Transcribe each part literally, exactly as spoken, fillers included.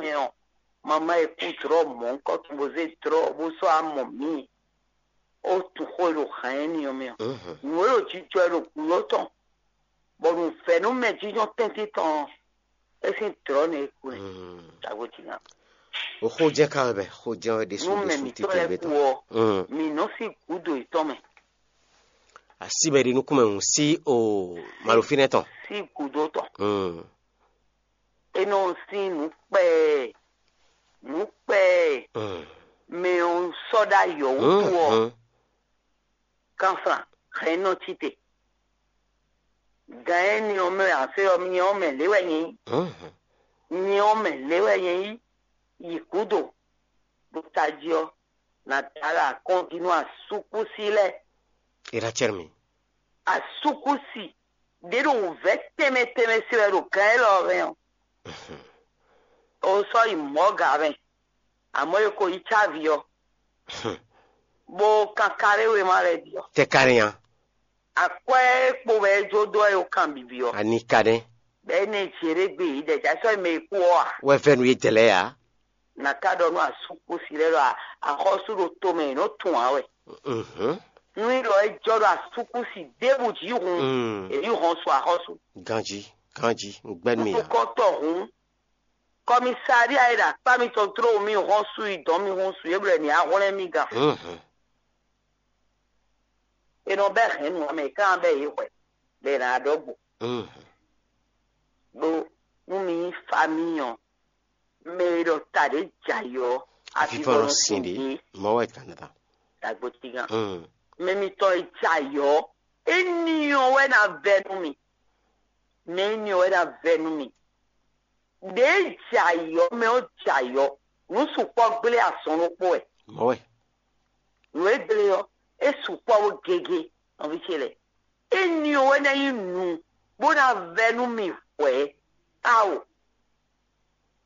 mɛ ɔ́, mama e kú drɔ̌ mɔ̌hunkɔtɔn bó zé drɔ̌ bó sɔ́ amɔ mǐ ó tunwun xó e ɖo hǎn énɛ́ ɔ́ mɛ ɔ́. Nǔ e ɖo jijɔ e ɖo gǔdo tɔn, bɔ nǔvɛ́nú mɛ jínjɔ́n tɛ́ntin tɔn ɔ́, é sín drɔ̌ nɛ́ é kú nɛ́. Tagbó jí ná. O xó jɛ́n ka wɛ bɛ xó jɛ́n wɛ ɖésú nú mɛ ɖésú mǐtɔn titewungbe lɛ́ɛ kú tɔn. Ɔ́, mǐ nɔ sí gǔdo yětɔn mɛ. Así bɛ ɖi nukúnmɛ hǔn sí o malofínɛ́ tɔn. Sí gǔdo tɔn. Mm. É nɔ sín nǔ kpɛɛ, nǔ kpɛɛ. Mm. Mɛ ɔ́ sɔ́ ɖó ayɔ̌ wútu ɔ́, Mm. kanflan hɛn nɔ cí te. Gan énɛ́ ɔ́ mɛ ǎ fɛ ɔ́, nyɛ ɔ́ mɛ lě wɛ nyɛ nyí. Mm. Nyɛ ɔ́ mɛ lě wɛ nyɛ nyí. Yi gǔdo ɖo tají ɔ́, nǎ da alɔ akɔ́n jí nú asúkúsi lɛ́ɛ. Era cɛ́rɛ mi. Asúkúsi ɖě ɖo wǔvɛ́ tɛnmɛ tɛnmɛ se wɛ ɖo gan élɔ́ ɔ́ hɛn ɔ́. O sɔ́ yi mɔ̌ gǎ mɛ, amɔ̌ e ko yi cávi ɔ́, bó kankaɖé wéma lɛ́ɛ ɖi ɔ́. Tɛ ka nɛ nya. Akwɛ́ e kpo wɛ é jó dó wɛ é kan bǐbí ɔ́. Ani ka nɛ. Bɛ́ é nɛ jě ɖé gbe yě ɖɛ jǎ sɔ́ yi mɛ e kú ɔ́ a? Wɛ vɛ́ nú yě dɛ̌ lɛ́ɛ ǎ. Nǎ ká ɖɔ nú asúkúsi lɛ́ɛ ɖɔ axɔ́sú ɖo tomɛ è nɔ́ tunwun ǎ wɛ. Mhm. Nú í ɖɔ é jɔ ɖo asúkúsi ɖěbǔ jí hun, Mm. È ní hɔn su axɔ́sú. Ganjí, ganjí, un gbɛ́ nú mì ǎ. Nukɔntɔn hun, kɔmisária e ɖo akpá mitɔn tló mì hɔn su yi dɔn mì hun su yě blɛ ní ahwlɛ́n mì gán. Mhm. È nɔ bɛ́ hɛ̌nnu ɔ́ mɛ, è ká bɛ́ yě hwɛ, bɔ è nǎ ɖɔ́ gbo. Mhm. Ɖó nú mi nyí famíi ɔ́, mɛ e ɖɔ ta ɖě jɛ ayǐ ɔ́, avivɔnɔ sin ɖě, mɔ̌ wɛ kan ta. Dagbotígán. Mm. Mɛ mitɔn e jɛ ayǐ ɔ́, éní ɔ́ wɛ ná vɛ́ nú mi. Mɛ éní ɔ́ wɛ ná vɛ́ nú mi. Ɖě jɛ ayǐ ɔ́, mɛ ɔ́ jɛ ayǐ ɔ́, nǔ sukpɔ́ gblé azɔn ɖokpó wɛ. Mɔ̌ wɛ. Nǔ e gblé ɔ́, é sukpɔ́ bó gégé nɔví ce lɛ́ɛ. Éní ɔ́ wɛ ná nyí nǔ bó ná vɛ́ nú mi hwɛ̌. Ao!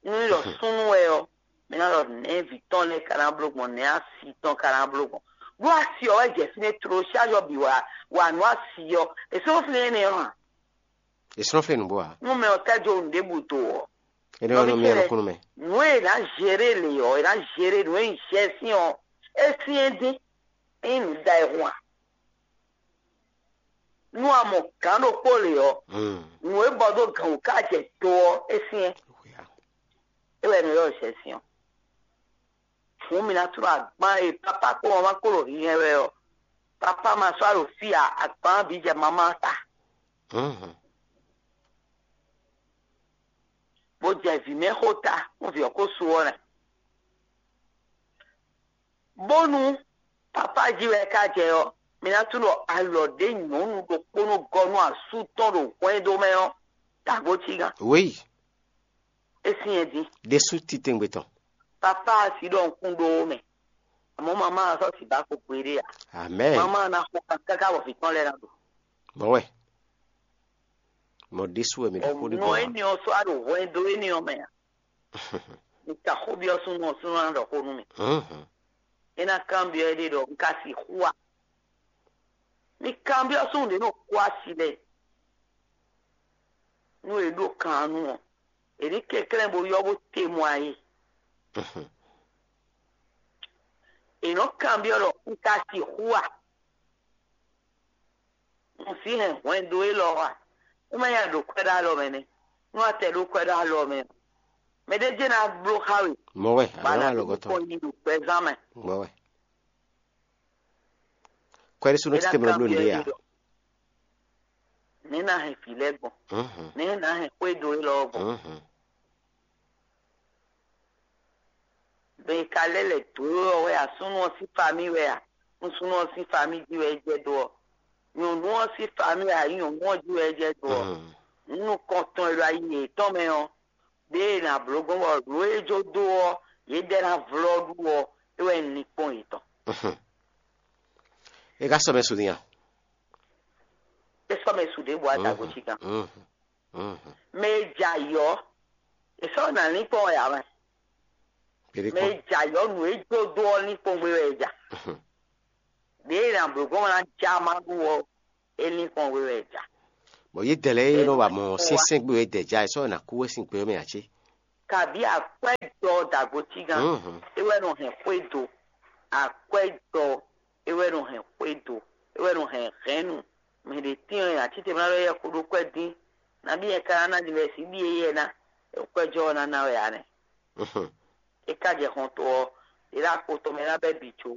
Nú ɖɔ súnnu wɛ ɔ́, mi ná ɖɔ nɛ̌ vǐ tɔn lɛ́ɛ ka ná bló gbɔn, nɛ̌ asi tɔn ka ná bló gbɔn. Ɖó asi ɔ́ wɛ jɛ fínɛ́ tló, ṣáájú ɔ́ bǐ wá wá nǔ asi ɔ́, è sɔ́ fínɛ́ énɛ́ ɔ́ hǎn. È sɔ́ fínɛ́ nǔgbó ǎ. Nú mɛ ɔ́ tɛ́ jó nǔɖébǔ do ɔ́, Énɛ́ ɔ́ nɔ mì ɔ́ nukúnnú mɛ. Nǔ e è nǎ zeré lě ɔ́, è nǎ zeré nǔ e nyí zɛ́sín ɔ́, é syɛ́n dín, é nyí nǔ da e hun a? Nú a mɔ gǎn ɖokpó lě ɔ́, Hmm. Nǔ e bɔ dó gǎn wú ká jɛ do ɔ́, é syɛ́n. É wɛ è nɔ ylɔ́ zɛ̌syɔ́n. Hǔn mi ná tló agban e pápá kpó wamá kpó ɖo hinhɛn wɛ ɔ́, pápá ma sɔ́ ɖo fí ǎ, agban bǐ jɛ mamá ta, Mhm. Bó jɛ vǐ mɛ xó ta, nú vǐ ɔ́ ko su ɔ́ nɛ́. Bónú papá jí wɛ é ka jɛ ɔ́, mi ná tunwun ɖɔ alɔ ɖě nyɔ̌nu ɖokpónɔ gɔ́ nú asú tɔn ɖo hwɛndo mɛ ɔ́, dǎgbó cígán. Wěyi. É syɛ́n dín. Ɖésú titewungbe tɔn. Papá asi ɖɔ nukún ɖó mɛ. Àmọ́ mamá ɔ́ sɔ́ sǐ ba ko gbeɖé ǎ. Amɛn. Mamá ɔ́ ná xo kan káká bɔ vǐ tɔn lɛ́ɛ ná ɖu. Mɔ̌ wɛ. Mɔ̌ ɖésú wɛ mi ɖo xó ɖé Nɔ gbɔn ǎ. Énɛ́ ɔ́ sɔ́ wá ɖo hwɛndo énɛ́ ɔ́ mɛ ǎ. Mi ka xó byɔ́ súnnu ɔ́, súnnu ɔ́ ná ɖɔ xó nú mi. Mhm. É ná kanbyɔ́ éɖée ɖɔ un ka sixú a? Mi kanbyɔ́ súnnu ɖě nɔ kó asi lɛ́ɛ. Nú è ɖó kan ɔ́ nu ɔ́, è ní kɛnklɛ́n bó ylɔ́ bó te mɔ ayé. Mhm. È nɔ kanbyɔ́ ɖɔ un ka sixú a? Un sí hɛn hwɛndo élɔ́ ɔ́ a? É má nyí aɖǒ kwɛ́ ɖó alɔ mɛ nɛ́. Nú a tɛ ɖó kwɛ́ ɖó alɔ mɛ ɔ́, mɛɖé jɛ́n ná bló xá we, Mɔ̌ wɛ, bɔ a nǎ alɔ ɖó alɔgɔ́tɔn. Kpɔ́n nyi ɖo gbɛzán mɛ. Mɔ̌ wɛ. Kwɛ́ɖésú nɔ É ná títí mlɔ bló kanbyɔ́ nǔɖé ɛ a? Ɖɔ: Nɛ̌ ná hɛn vǐ lɛ́ɛ gbɔn? Mhm. Nɛ̌ ná hɛn xwédo élɔ́ ɔ́ gbɔn? Mhm. Mɛ e ka lɛ́ lɛ̌ dó ɔ́ wɛ a? Súnnu ɔ́ sín famí wɛ a? Nú súnnu ɔ́ sín famí jí wɛ é jɛ dó ɔ́, nyɔ̌nu ɔ́ sín famí wɛ a? Nyɔ̌nu ɔ́ jí wɛ é jɛ dó ɔ́, Mhm. nǔ nukɔntɔn e ɖo ayi yětɔn mɛ ɔ́, ɖěe è nǎ bló gbɔn bɔ nǔ e jó dó ɔ́, yě ɖɛ ná vlɔ́ ɖu ɔ́, é wɛ nyí linkpɔ́n yětɔn. Mhm. É ka sɔ́ mɛ su din a? É sɔ́ mɛ su ɖěbǔ a da gǒ cí gán. Mhm. Mhm. Mɛ e jɛ ayǐ ɔ́, è sɔ́ nǎ linkpɔ́n wɛ ǎ mɛ. Mɛ e jɛ ayǐ ɔ́, nǔ e jó dó ɔ́ linkpɔ́n gbé wɛ è ja. Mhm. Ɖěe è nǎ bló gbɔn ná ja ma ɖu ɔ́, é linkpɔ́n gbé wɛ è ja. Bɔ yě dɛ lɛ́ɛ é nɔ wa mɔ syɛ́nsyɛ́n gbé wɛ dɛ ja, è sɔ́ nǎ kú wɛ sín gbé ɔ́ mɛ ǎ cé? Kabí akwɛ́jɔ dagbotígán, é wɛ nɔ hɛn xwédo. Akwɛ́jɔ é wɛ nɔ hɛn xwédo, é wɛ nɔ hɛn hɛ̌nnu. Mɛ ɖě tín ɔ́, acíte mlá ɖɔ yɛ xo ɖó kwɛ́ dín. Nabí yɛ ka ná ná ɖi wɛ sí ɖíe yɛ ná? Kwɛ́jɔ ɔ́ ná ná wɛ ǎ nɛ́. É ka jɛ xɔn to ɔ́, ɖě ɖo akpo tɔn mɛ ná bɛ́ bǐ có.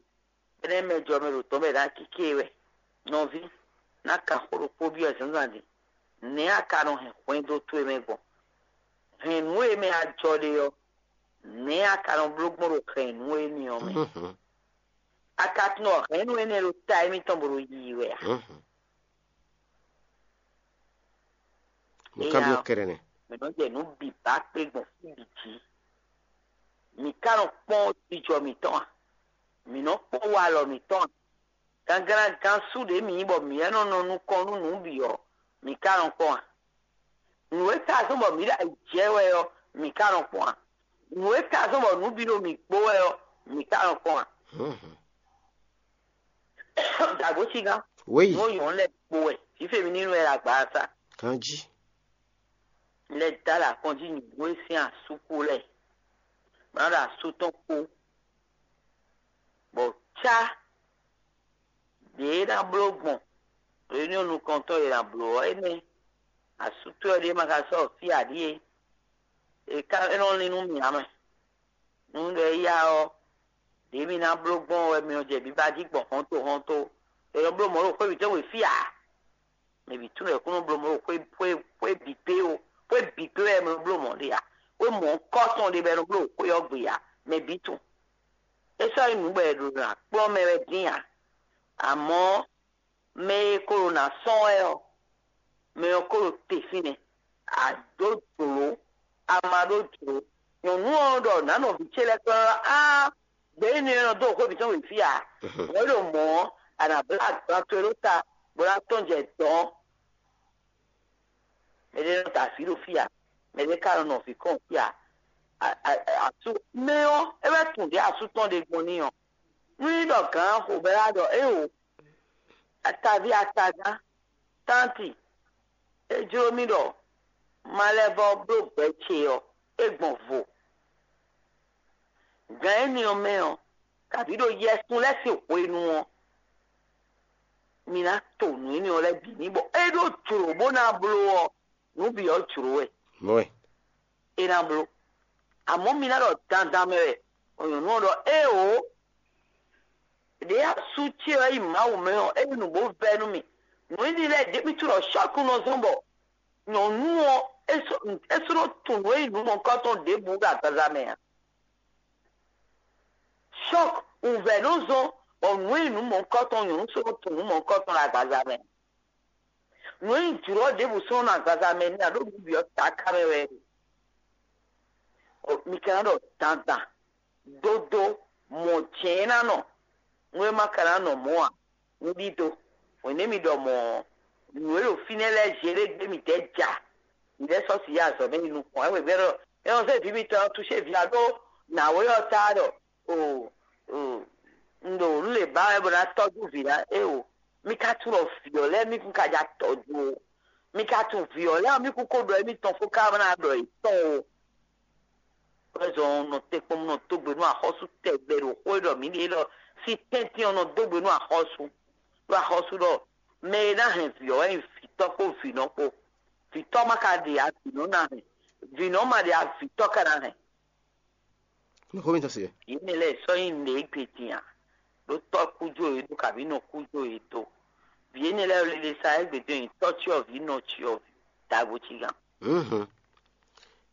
Énɛ́ mɛ jɔ mɛ ɖo tɔ́ mɛ ná kíké wɛ. Nɔví, ná kan xó ɖokpó byɔ́ zǎnzǎn din. Nɛ̌ a ka nɔ hɛn hwɛndo towe mɛ gbɔn? Hɛn nǔ e mɛ a jɔ ɖe ɔ́, nɛ̌ a ka nɔ bló gbɔn ɖo hɛn nǔ énɛ́ ɔ́ mɛ? A ka tunwun ɖɔ hɛn nǔ énɛ́ ɖo ta émítɔn bo ɖo yiyi wɛ a? Mo ka byɔ́ kɛ́ɖɛ́ nɛ́. Mǐ nɔ jɛ nǔ bǐ ba kpé gbɔn fí bǐ jí. Mǐ ka nɔ kpɔ́n jijɔ mǐtɔn a? Mǐ nɔ kpɔ́n walɔ mǐtɔn a? Gangán gán sú ɖě mǐ nyí bɔ mǐ wɛ nɔ nɔ nukɔn nú nǔ bǐ ɔ́, mǐ ka nɔ kpɔ́n a? Nǔ e ka zɔ́n bɔ mǐ ɖo ayǐ jɛ wɛ ɔ́, mǐ ka nɔ kpɔ́n a? Nǔ e ka zɔ́n bɔ nǔ bǐ ɖo mǐ kpo wɛ ɔ́, mǐ ka nɔ kpɔ́n a? Dǎgbócígán, Wéyi. Nǔ nyɔ̌ lɛ́ɛ kpo wɛ, fífé mi ní nú ɛ ɖo agbaasa. Ganjí. Lɛ dá ɖo akɔn jí nyǐgbó e sín asú kú lɛ́ɛ, bó ná ɖo asú tɔn kpó, bɔ cá ɖě e ná bló gbɔn ɖě nú nukɔntɔn e ná bló ɔ́ énɛ́. Asú towe ɔ́ ɖíe ma ka sɔ́ fí ǎ ɖíe, è ka é nɔ lín nú mì ǎ mɛ. Nú ɖɔ éyá ɔ́, ɖě mi ná bló gbɔn wɛ mi nɔ jɛ biba jí gbɔn hɔnto hɔnto. È nɔ bló mɔ̌ ɖo xwé mǐtɔn we fí ǎ. Mɛ bǐ tunwun ɖɔ è kún nɔ bló mɔ̌ ɖo xwé xwé xwé bǐ pé ó. Xwé bǐ pé wɛ è nɔ bló mɔ̌ ɖe ǎ. Xwé mɔ̌hunkɔtɔn ɖé bɔ è nɔ bló ɖo xwé ɔ́ gbe ǎ. Mɛ bǐ tunwun. É sɔ́ nyí nǔ bɔ è ɖo nɔ akplɔ́n mɛ wɛ dín ǎ. Amɔ̌, mɛ e ko ɖo nǎ sɔ́n wɛ ɔ́, mɛ ɔ́ ko ɖo te fínɛ́. A dǒ jlǒ, a ma ɖó jlǒ. Nyɔ̌nu ɔ́ ɖɔ nǎ nɔ vǐ ce lɛ́ɛ kplɔ́n ɖɔ áá, gbě énɛ́ ɔ́ nɔ dó xwé mǐtɔn wěfí ǎ. Hwɛ ɖo mɔ̌ ɔ́, a nǎ blá agban towe ɖó ta, bó ná tɔ́n jɛ dɔ̌n. Mɛɖé nɔ ta vǐ ɖo fí ǎ, mɛɖé ka nɔ nɔ vǐ kɔn fí ǎ. Asú mɛ ɔ́, é wɛ tunwun ɖě asú tɔn ɖe gbɔn n'i ɔ́. Nú nyí ɖɔ gǎn Xobɛ́la ɖɔ éeǒ, ataví atagán, tánti, é jló mì ɖɔ ma lɛ́ vɔ́ bló gbɛ ce ɔ́, é gbɔn vo. Gǎn énɛ́ ɔ́ mɛ ɔ́, kabǐ ɖo yɛsun lɛ́ɛ sín hwenu ɔ́, mi ná to nǔ énɛ́ ɔ́ lɛ́ɛ bǐ n'i bɔ é ɖó jlǒ bó ná bló ɔ́, nǔ bǐ ɔ́ jlǒ wɛ. Mɔ̌ wɛ. É ná bló. Amɔ̌ mi ná ɖɔ dandan mɛ wɛ, bɔ nyɔ̌nu ɔ́ ɖɔ éeǒ, ɖě asú ce ɔ́ yi Mawu mɛ ɔ́, é ɖi nǔ bó vɛ́ nú mì. Nǔ énɛ́ lɛ́ɛ ɖěbǔ ɖɔ sɔ́ku nɔ zɔ́n bɔ nyɔ̌nu ɔ́, é sɔ́ é sɔ́ nɔ tunwun nǔ e nyí nǔ mɔ̌hunkɔtɔn ɖěbǔ ɖo agbaza mɛ ǎ. Sɔ́k wǔvɛ́ nɔ zɔ́n bɔ nǔ e nyí nǔ mɔ̌hunkɔtɔn nyɔ̌nu sɔ́ nɔ tunwun nǔ mɔ̌hunkɔtɔn ɖo agbaza mɛ. Nǔ e nyí jlɔ̌ ɖěbǔ sɔ́ nɔ agbaza mɛ ní ǎ ɖó nǔ bǐ ɔ́ taká mɛ wɛ é ɖe. Mi ka ná ɖɔ dandan, dódó, mɔ̌ jɛ́n ná nɔ, nú é ma ka ná nɔ mɔ̌ ǎ, un ɖidó. Hwěnɛ́ mi ɖɔ mɔ̌ ɔ́, nǔ e ɖo fínɛ́ lɛ́ɛ zě ɖé gbé mǐtɛɛ ja, mǐ lɛ́ sɔ́ si yi azɔ̌ mɛ yi nukɔn. É wěgbé ɖɔ é nɔ zé vǐ mitɔn ɔ́ túsé vǐ ǎ ɖó nǎwe ɔ́ ta ɖɔ o o un ɖo nǔ lě ba wɛ bó ná tɔ́jú vǐ ná é o. Mi ka tunwun ɖɔ vǐ ɔ́ lɛ́ɛ mi kún ka ja tɔ́jú o. Mi ka tunwun vǐ ɔ́ lɛ́ɛ mi kún ko ɖɔ émítɔn fó ká ná ɖɔ yětɔn o. Wɛzɔn nɔ te kpɔn nɔ dó gbe nú axɔ́sú tɛgbɛ ɖo xó e ɖɔ mǐ ɖe ɖɔ sín tɛ́ntin ɔ́ nɔ dó gbe nú axɔ́sú. Ɖó axɔ́sú ɖɔ mɛ e ná hɛn vǐ ɔ́ wɛ nyí vǐtɔ́ kpó vǐnɔ kpó. Vǐtɔ́ ma ka ɖe ǎ, vǐnɔ ná hɛn. Vǐnɔ ma ɖe ǎ, vǐtɔ́ ka ná hɛn. Nǔxó mitɔn se. Yě mɛ lɛ́ɛ sɔ́ nyí nǔɖé gbe din a? Ɖó tɔ́ kú jó yě dó kabǐ nɔ kú jó yě dó. Vǐ énɛ́ lɛ́ɛ lele sa égbé din ɔ́, nyí tɔ́ cyɔvǐ nɔ cyɔvǐ dagbo cí gán. Mhm.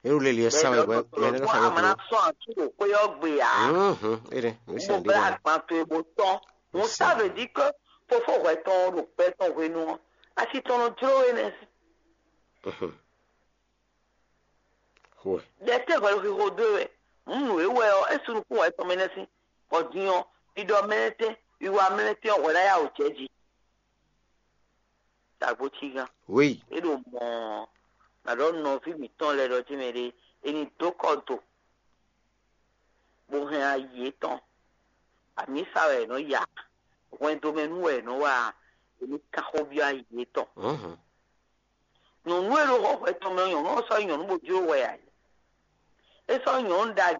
Eru lele ɛ sa wɛ wɛ yɛ ne ka sa wɛ. Amana sɔn atu ɖo xwé ɔ́ gbe a? Mhm. Ere. Mo bla agban to e bo tɔn. Mo sa veut dire que fofo hwɛ tɔn ɖo gbɛ tɔn hwenu ɔ́, asi tɔn nɔ jló we nɛ. Mhm. Xwe. Ɖe tɛ́ hwɛ xixo dó we wɛ. Hǔn nǔ e wɛ ɔ́, é sú nukún wɛ tɔn mɛ nɛ́ sín, bɔ din ɔ́, ɖiɖɔ mɛ nɛ́ tɛ́, wiwa mɛ nɛ́ tɛ́ ɔ́ hwɛ ná yá wǒ jɛ jí. Dǎgbó cí gán. Wéyi. É ɖo mɔ̌ ɔ́, nǎ ɖɔ nɔví mǐtɔn lɛ́ɛ ɖɔ jí mɛ ɖé, è nǐ dó kɔ do, bó hɛn ayi yětɔn. Amǐsa wɛ è nɔ ya, hwɛndo mɛ nú wɛ è nɔ wa, è nǐ kan xó byɔ́ ayi yětɔn. Mhm. Nyɔ̌nu e ɖo xɔ hwɛ tɔn mɛ ɔ́, nyɔ̌nu ɔ́ sɔ́ nyí nyɔ̌nu bó jló hwɛ ǎ. É sɔ́ nyɔ̌nu ɖagbe